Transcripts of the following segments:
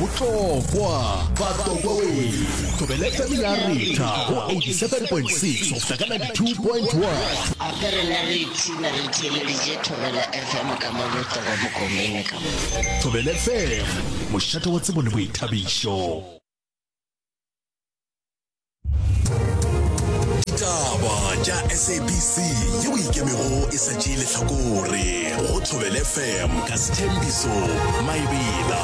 Botlokwa, Batlokwa we! Thobela FM ya retha go 87.6 go fihla ka 92.1. Gape rena re ipshina re theeleditše Thobela FM ka mo Botlokwa Mokomene ka mo. Thobela FM, mošate wa tsebo le boithabišo. Ditaba tša SABC yeo ikemego e sa tšee lehlakore go Thobela FM ka Sthembiso Maebela.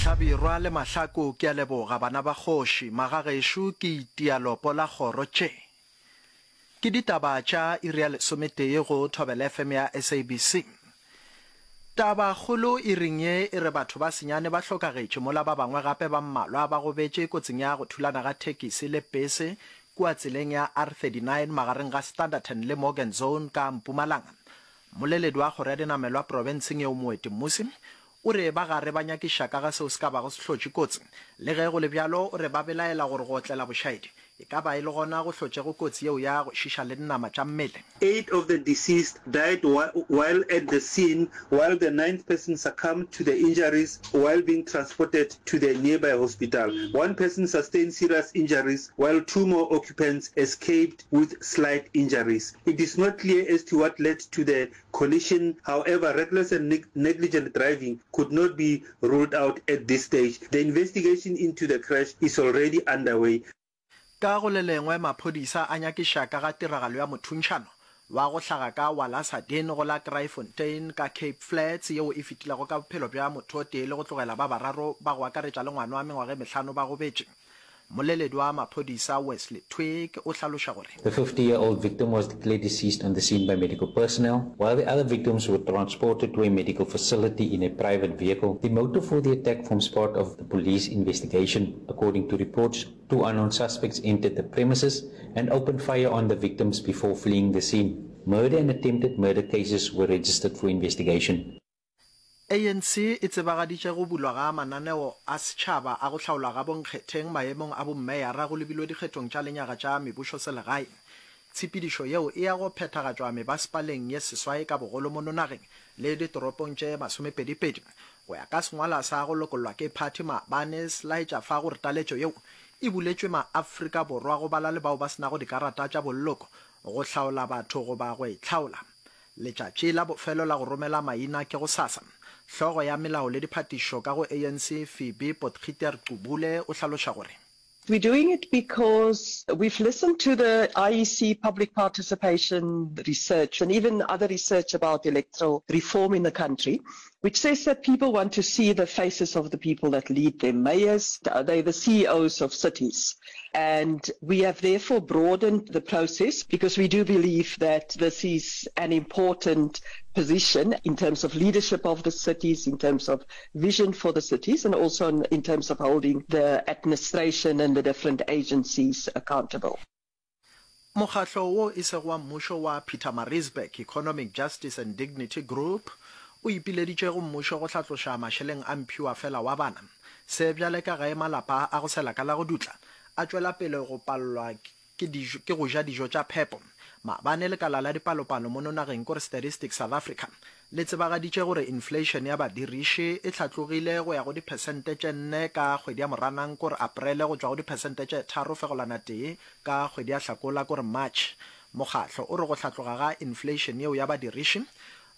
Hlabirwa le Mahlaku ke a leboga bana ba kgoši, magagešo ke itia lopo la kgoro tše. Ke ditaba tša iri ya lesometee go Thobela FM ya SABC. Taba kgolo iring ye e re batho ba senyane ba hlokagetše mola ba bangwe gape ba mmalwa ba gobetše kotsing ya go thulana ga thekisi le pese kua tseleng ya R39 magareng ga Standerton le Morgenzon ka Mpumalanga. Mmoleledi wa kgoro ya dinamelwa profenseng yeo Moeti Mmusi o re ba gare ba nyakiša ka ga seo se ka bago se hlotše kotsi. Le ge go le bjalo, o re ba belaela gore go otlela bošaedi e ka ba e le gona go hlotšego kotsi yeo ya go šiša le dinama tša mmele. Eight of the deceased died while at the scene while the ninth person succumbed to the injuries while being transported to the nearby hospital. One person sustained serious injuries while two more occupants escaped with slight injuries. It is not clear as to what led to the collision, however reckless and negligent driving could not be ruled out at this stage. The investigation into the crash is already underway. Ka go le lengwe, maphodisa a nyakiša ka ga tiragalo ya mothuntšhano wa go hlaga ka Walasadin go la Kraaifontein ka Cape Flats yeo e fetilego ka bophelo bja motho o tee le go tlogela ba bararo ba go akaretša le ngwana wa mengwaga e mehlano ba gobetše. Mmoleledi wa maphodisa Wesley Twigg o hlaloša gore. The 50-year-old victim was declared deceased on the scene by medical personnel, while the other victims were transported to a medical facility in a private vehicle. The motive for the attack forms part of the police investigation. According to reports, two unknown suspects entered the premises and opened fire on the victims before fleeing the scene. Murder and attempted murder cases were registered for investigation. ANC e tsebagaditše go bulwa ga mananeo a setšhaba a go hlaolwa ga bonkgetheng maemong a bommeyara go lebilwe dikgethong tša lenyaga tša mebušoselegae. Tshepedišo yeo e ya go phethagatšwa mebasepaleng ye seswai ka bogolo mono nageng le ditoropong tše masomepedipedi. Go ya ka sengwalwa sa go lokollwa ke phathi maabane se laetša fa gore taletšo yeo e buletšwe maAfrika Borwa go bala le bao ba se nago dikarata tša bolloko go hlaola batho goba go itlhaola. Letšatši la bofelo la go romela maina ke gosasa. Hlogo ya melao le diphatišo ka go ANC Phoebe Potgieter-Gqubule o hlaloša gore. We're doing it because we've listened to the IEC public participation research and even other research about electoral reform in the country, which says that people want to see the faces of the people that lead them, mayors, they're the CEOs of cities. And we have therefore broadened the process because we do believe that this is an important position in terms of leadership of the cities, in terms of vision for the cities, and also in, in terms of holding the administration and the different agencies accountable. Mokgatlo wo e sego wa mmušo wa Pietermaritzburg Economic Justice and Dignity Group o ipileditše go mmušo go hlatloša mašeleng a mphiwafela wa bana. Se bjale ka ge malapa a go sela ka la go dutla a tšwela pele go palelwa ke dijo ke go ja dijo tša phepo. Maabane lekala la dipalopalo mono nageng kore Statistics South Africa le tsebagaditše gore inflation ya badiriši e hlatlogile go ya go diphesente tše nne ka kgwedi ya Moranang kore Aprele go tšwa go diphesente tše tharo fegolwana tee ka kgwedi ya Hlakola kore March. Mokgahlo o re go hlatloga ga inflation yeo ya badiriši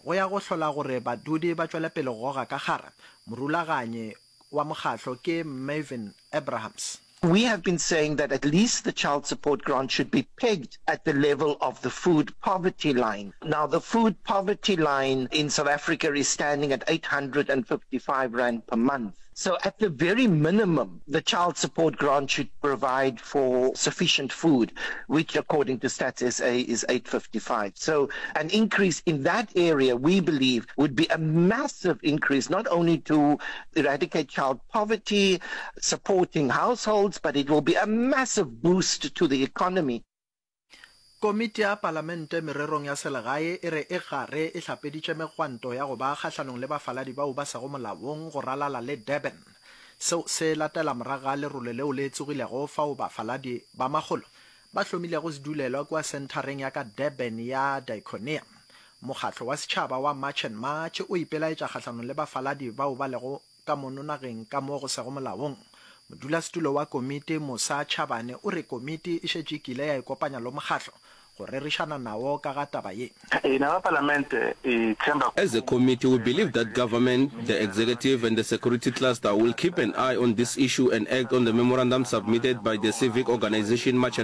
go ya go hlola gore badudi ba tšwele pele go goga ka kgara. Morulaganyi wa mokgahlo ke Mervyn Abrahams. We have been saying that at least the child support grant should be pegged at the level of the food poverty line. Now, the food poverty line in South Africa is standing at 855 Rand per month. So at the very minimum, the child support grant should provide for sufficient food, which according to Stats SA is 855. So an increase in that area, we believe, would be a massive increase, not only to eradicate child poverty, supporting households, but it will be a massive boost to the economy. Komiti ya Palamente Mererong ya Selegae e re e gare e hlapeditše megwanto ya go ba kgahlanong le bafaladi bao ba sego molaong go ralala le Durban. Seo se latela morago ga lerole leo le tsogilego fao bafaladi ba makgolo ba hlomilego sedulelwa kua senthareng ya ka Durban ya Diaconia. Mokgatlo wa setšhaba wa March and March o ipelaetša kgahlanong le bafaladi bao ba lego. ka mono nageng ka mo go sego molaong. Modulasetulo wa komiti Musa Chabane o re komiti e šetše e kile ya ikopanya lo mokgatlo go rerišana nawo ka ga taba ye. As a committee, we believe that government, the executive and the security cluster will keep an eye on this issue and act on the memorandum submitted by the civic organisation March and.